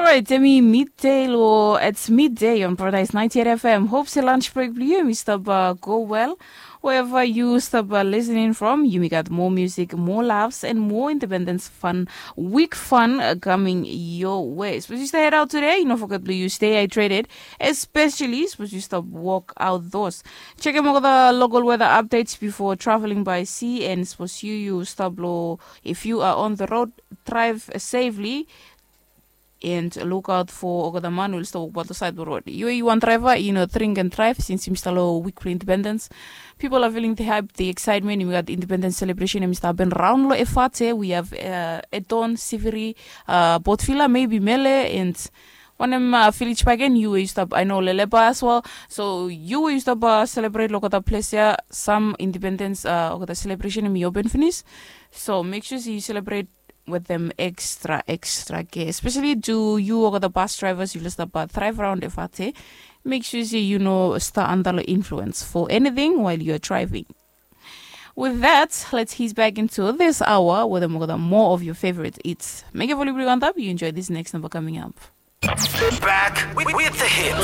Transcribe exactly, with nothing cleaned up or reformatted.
Alright, hemi midday lo it's midday on Paradise ninety-eight F M. Hope se lunch break blo yu hemi stap uh, go well. Wherever you stop uh, listening from, yumi got more music, more laughs, and more independence fun, week fun uh, coming your way. Suppose you stay head out today, you know, forget to you stay hydrated, especially suppose you stop walk outdoors. Check out the local weather updates before traveling by sea, and suppose you you stop low if you are on the road, drive safely. And look out for olgeta man we oli stap wokbaot lo saed blong rod. Yu yu wan draiva, yu no drink and drive since yumi stap lo wik blong independens. Pipol are feeling the hype, the excitement, yumi gat independens selebresen yumi stap hapen raon lo efate. We have uh, Edon, Siviri, uh, Botvila, maybe Mele, and wanem uh, Village Bagen, yu we yu stap, I know Leleba as well. So yu we yu stap uh, celebrate lo olgeta ples ya, sam independens uh, olgeta selebresen yumi open finis. So make sure yu celebrate with them extra extra care, especially to you or the bus drivers you list about drive around efate. Make sure you know star under the influence for anything while you're driving. With that, let's ease back into this hour with more of your favorite eats. Make a volleyball on top, you enjoy this next number coming up. Back with, with the hits.